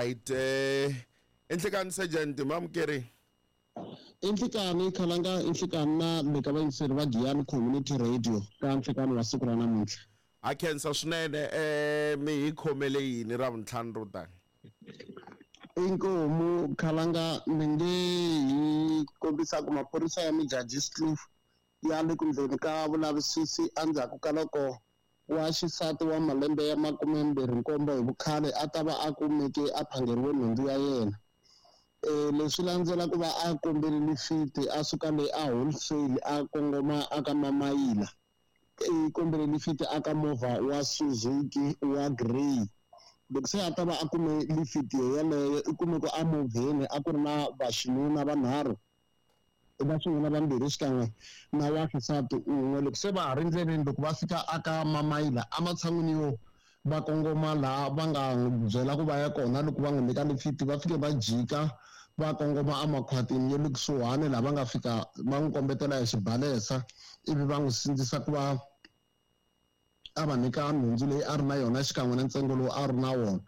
Alright, enhlekani sergeant mamukeri. I nhlikani Khalanga, i nhlikani na le ka vayingiseri va Giyani Community Radio ka nhlikani wa siku ra namuntlha. Ha khensa swinene. Mi hi khomele yini ra vuntlhanu ro tani? Inkomu Khalanga, mi nge hi kombisa ku maphorisa ya Modjadjiskloof ya le ku ndleni ka vulavisisi endzhaku ka loko wa xisati wa malembe ya 27 hi vukhale a ta va a kumeke a phangeriwe nhundzu ya yena. Leswi landzela ku va a kombele lifiti a suka le a wholesale a kongoma aka Mamayila. I kombele lifiti aka movha wa Suzuki wa grey. Loko se a ta va a kume lifiti yeleyo, i kume ku emovheni a ku ri na vaxinuna vanharhu, va xinuna vambirhi xikan'we na wa xisati un'we. Loko se va ha ri ndleleni, loko va fika aka Mamayila, ematshan'wini yo va kongoma laha va nga n'wi byela ku va ya kona loko va n'wi nyika lifiti, va fike va jika va kongoma emakhwatini ya le kusuhani, laha va nga fika va n'wi kombetela hi xibalesa, ivi va n'wi sindzisa ku va a va nyika nhundzu leyi a ri na yona xikan'we na ntsengo lowu a ri na wona.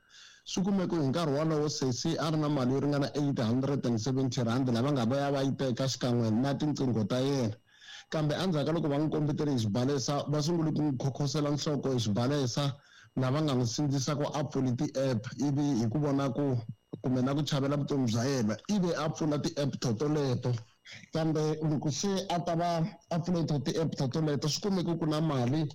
Swi kumeke hi nkarhi wolowo sesi a ri na mali yo ringana R870 lava nga va ya va yi teka xikan'we na tinqingho ta yena. Kambe endzhaku ka loko va n'wi kombetele hi xibalesa, va sungule ku n'wi khokhosela nhloko hi xibalesa, lava nga n'wi sindzisa ku a pfuli ti-app, ivi hi ku vona ku kumbe na ku chavela vutomi bya yena, ivi a pfula ti-app totoleto. Kambe loko se a ta va a pfule to ti-app totoleto, swi kumeke ku na mali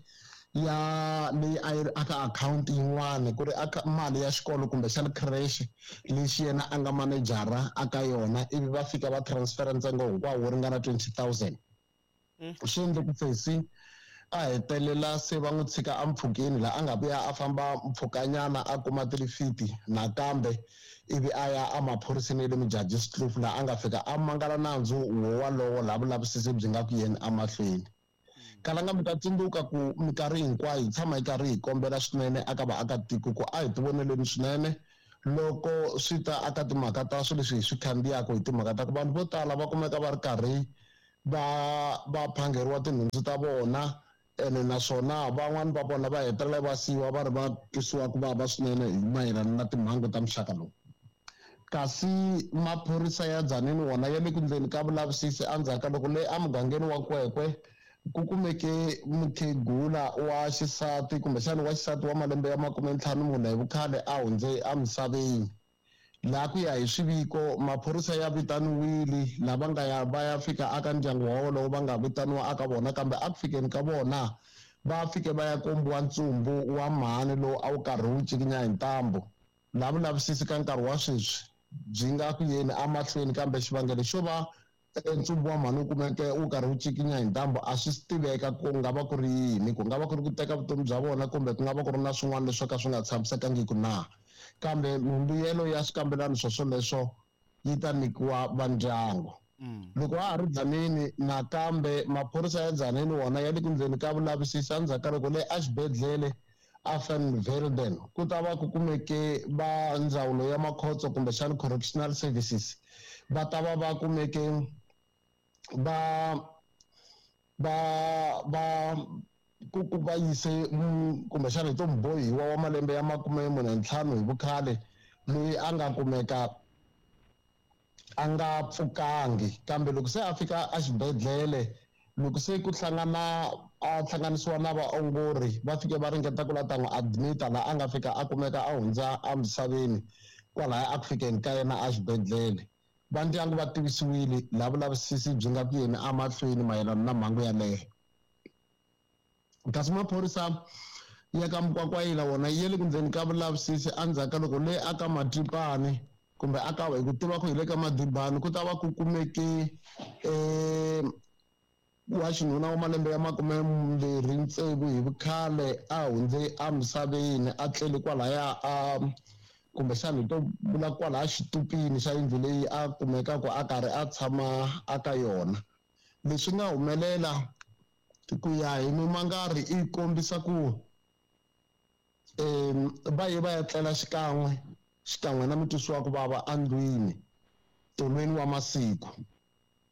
ya leyi a yi ri aka akhawunti yin'wana, ku ri aka mali ya xikolo kumbexana creche lexi yena a nga manejara aka yona, ivi va fika va transfera ntsengo hinkwawo wo ringana 20 000. Swi endle ku sesi a hetelela se va n'wi tshika empfhukeni, laha a nga vuya a famba mpfhukanyana a kuma tilifiti nakambe, ivi a ya emaphoriseni ya le Modjadjiskloof, laha a nga fika a mangala nandzu wo walowo, laha vulavisisi byi nga ku yeni emahlweni. Kalanga, mi ta tsundzuka ku minkarhi hinkwayo hi tshama hi karhi hi kombela swinene aka vaakatiko ku a hi tivoneleni swinene loko swi ta aka timhaka ta swilo leswi hi swi khandziyaka, hi timhaka ta ku vanhu vo tala va kumeka va ri karhi va phangeriwa tinhundzu ta vona, ene naswona van'wani va vona va hetelela va siyiwa va ri va twisiwa ku vava swinene hi mayelana na timhangu ta muxaka lowu. Kasi maphorisa ya Tzaneen wona ya le ku ndleni ka vulavisisi endzhaku ka loko le emugangeni wa Kwekwe ku kumeke mukhegula wa xisati, kumbexana wa xisati wa malembe ya 54 hi vukhale, a hundze emisaveni. Laha ku ya hi swiviko, maphorisa ya vitaniwile, lava nga ya va ya fika aka ndyangu wa wolowo va nga vitaniwa aka vona, kambe a ku fikeni ka vona va fike va ya kombiwa ntsumbu wa mhani lowu a wu karhi wu cikinya hi ntambu. Laha vulavisisi ka nkarhi wa sweswi byi nga ku yeni emahlweni, kambe xivangelo xo va ntsumbu wa mhani wu kumeke wu karhi wu cikinya hi ntambu a swi tiveka ku nga va ku ri yini, ku nga va ku ri ku teka vutomi bya vona kumbe ku nga va ku ri na swin'wana leswo ka swi nga tshamisekangiki na. Kambe mimbuyelo ya swikambelano swo swoleswo yi ta nyikiwa va ndyangu. Loko ha ha ri Tzaneen, nakambe maphorisa ya Tzaneen wona ya le ku ndleni ka vulavisisi endzhaku ka loko le exibedhlele a Van Velden ku ta va ku kumeke va ndzawulo ya makhotso kumbexana correctional services va ta va va kumeke va ku va yise kumbexana hi to mubohiwa wa malembe ya 45 hi vukhale, loyi a nga kumeka a nga pfukangi. Kambe loko se a fika exibedhlele, loko se ku hlangana a hlanganisiwa na vaongori, va fike va ringeta ku la ta n'wi admita, laha a nga fika a kumeka a hundza emisaveni kwalaya a ku fikeni ka yena exibedhlele. Va ndyangu va tivisiwile, laha vulavisisi byi nga ku yeni emahlweni mayelana na mhangu yaleyo. Kasi maphorisa ya ka Mukwakwayila wona ya le ku ndzeni ka vulavisisi endzhaku ka loko le aka Matipani, kumbe aka hi ku tiva ku hi le ka Madibani, ku ta va ku kumeke wa xinuna wa malembe ya 26 hi vukhale a hundze emisaveni, a tlele kwalaya a kumbexana hi to vula kwalaya xitupini xa yindlu leyi a kumekaka a karhi a tshama aka yona. Leswi nga humelela ku ya hi mimangari i kombisa ku va ye va ya tlela xikan'we na mutwisi wa ku vava endlwini tolweni wa masiku.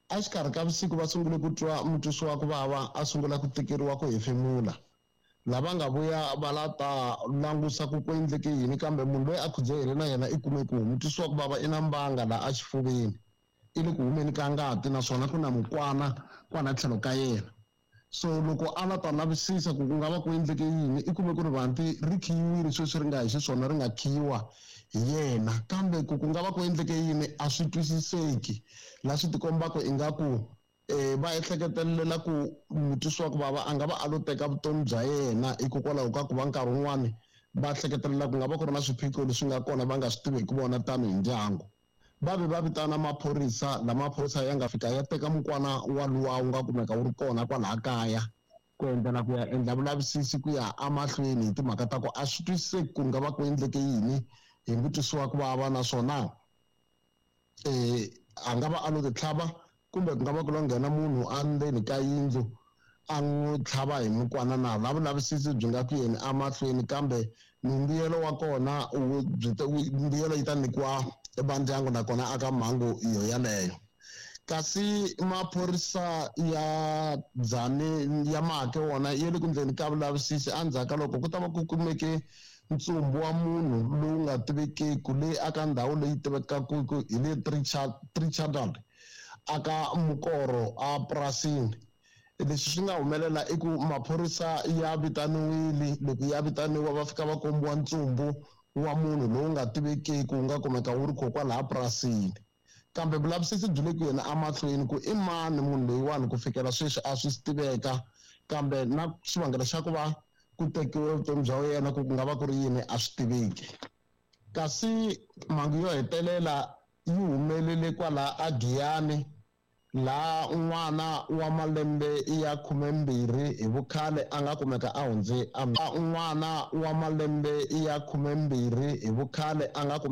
Exikarhi ka vusiku va sungule ku twa mutwisi wa ku vava a sungula ku tikeriwa ku hefemula. Lava nga vuya va la ta langusa ku ku endleke yini, kambe munhu loyi a khudzahele na yena i kume ku mutwisiwa ku vava i na mbanga laha exifuveni, i le ku humeni ka ngati, naswona ku na mukwana kwana tlhelo ka yena. So loko a la ta lavisisa ku ku nga va ku endleke yini, i kume ku rivanti ri khiyiwile sweswi ri nga hi xiswona, ri nga khiyiwa hi yena, kambe ku ku nga va ku endleke yini a swi twisiseki. Laha swi tikombaka ingaku va ehleketelela ku mutwisiwa ku vava a nga va a lo teka vutomi bya yena, hikokwalaho ka ku va nkarhi wun'wani va hleketelela ku nga va ku ri na swiphiqo leswi nga kona va nga swi tiveki vona tanihi ndyangu. Va ve va vitana maphorisa, lama maphorisa ya nga fika ya teka mukwana waluwa wu nga kumeka wu ri kona kwalaha kaya, ku endlela ku ya endla vulavisisi ku ya emahlweni hi timhaka ta ku a swi twisiseki ku nga va ku endleke yini hi mutwisiwa ku vava, naswona a nga va a lo titlhava kumbe ku nga va ku lo nghena munhu endzeni ka yindlu a n'wi tlhava hi mukwana na. La vulavisisi byi nga ku yeni emahlweni, kambe mimbuyelo wa kona mbuyelo yi ta nyikiwa vandyangu nakona aka mhangu yo yaleyo. Kasi maphorisa ya Dzane ya Maake wona ya le ku ndleni ka vulavisisi endzhaku ka loko ku ta va ku kumeke ntsumbu wa munhu lowu nga tivekeki leyi aka ndhawu leyi tivekaka ku hi le Trichardal aka Mukoro a purasini. Leswi swi nga humelela i ku maphorisa ya vitaniwile, loko ya vitaniwa va fika va kombiwa ntsumbu wa munhu lowu nga tivekeki wu nga kumeka wu ri kona kwalaha purasini, kambe vulavisisi byi le ku yena emahlweni ku i mani munhu loyiwani ku fikela sweswi a swi tiveka, kambe na xivangelo xa ku va ku tekiwe vutomi bya yena ku ku nga va ku ri yini a swi tiveki. Kasi mhangu yo hetelela yi humelele kwala aGiyani, laha n'wana wa malembe ya 12 hi vukhale a nga kumeka a hundze n'wana wa malembe ya 12 hi vukhale a nga